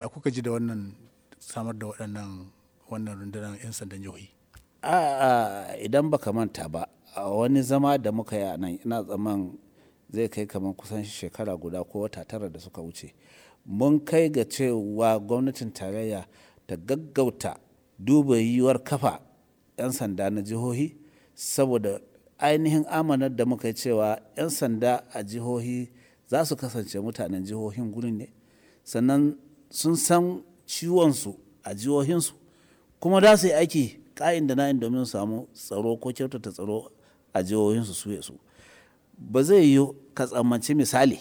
A kuka ji da wannan samar da waɗannan wannan rundunar 'yan sandan jihohi? A idan baka manta ba, a wani zama da muka yi a nan, ina tsamman zai kai kamar kusan shekara guda ko wata 9 da suka wuce. Mun kai ga cewa gwamnatin tarayya ta gaggauta duba yiwuwar kafa 'yan sanda na jihohi, saboda ainihin amanar da muka yi cewa 'yan sanda a jihohi za su kasance mutanen jihohin gurin ne. Sannan sun san ciwonsu a jihohinsu kuma za su yi aiki ka'in da na'in domin su samu tsaro ko kyautata tsaro a jihohinsu su ya su. Ba zai yiwu ka tsammanci misali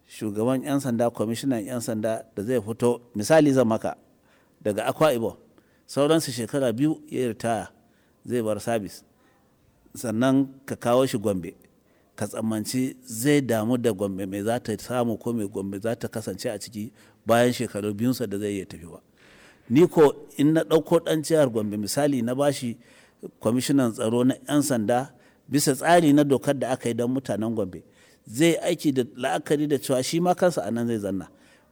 shugaban 'yan sanda, kwamishinan 'yan sanda da zai fito, misali zan maka, daga Akwa Ibom, sauransu shekara 2 ya ritaya zai bar sabis. Sannan ka kawo shi Gombe, ka tsammanci zai damu da Gombe me za ta samu ko me Gombe za ta kasance a ciki bayan shekaru biyunsa da zai iya tafi ba. Ni ko in na ɗauko ɗan jihar Gombe misali na bashi kwamishinan tsaro na 'yan sanda bisa tsari na dokar da aka yi don mutanen Gombe, zai aiki da la'akari da cewa shi ma kansa a nan zai zanna.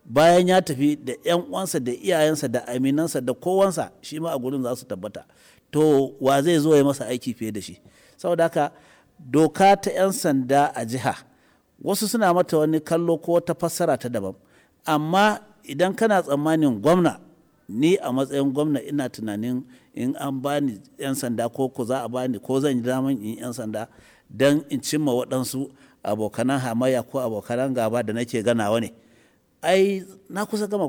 Bayan ya tafi da 'yan uwansa da iyayensa da aminansa da kowansa, shi ma a gurin za su tabbata. To wa zai zo ya masa aiki fiye da shi? Saboda haka doka ta 'yan sanda a jiha, wasu suna mata wani kallo ko wata fassara ta daban. Amma idan kana tsammanin gwamna, ni a matsayin gwamna ina tunanin in an bani 'yan sanda ko ko za a bani ko zan yi daman in yi 'yan sanda don in cimma waɗansu abokanan hamayya ko abokanan gaba da nake ganawa ne. Ai na kusa gama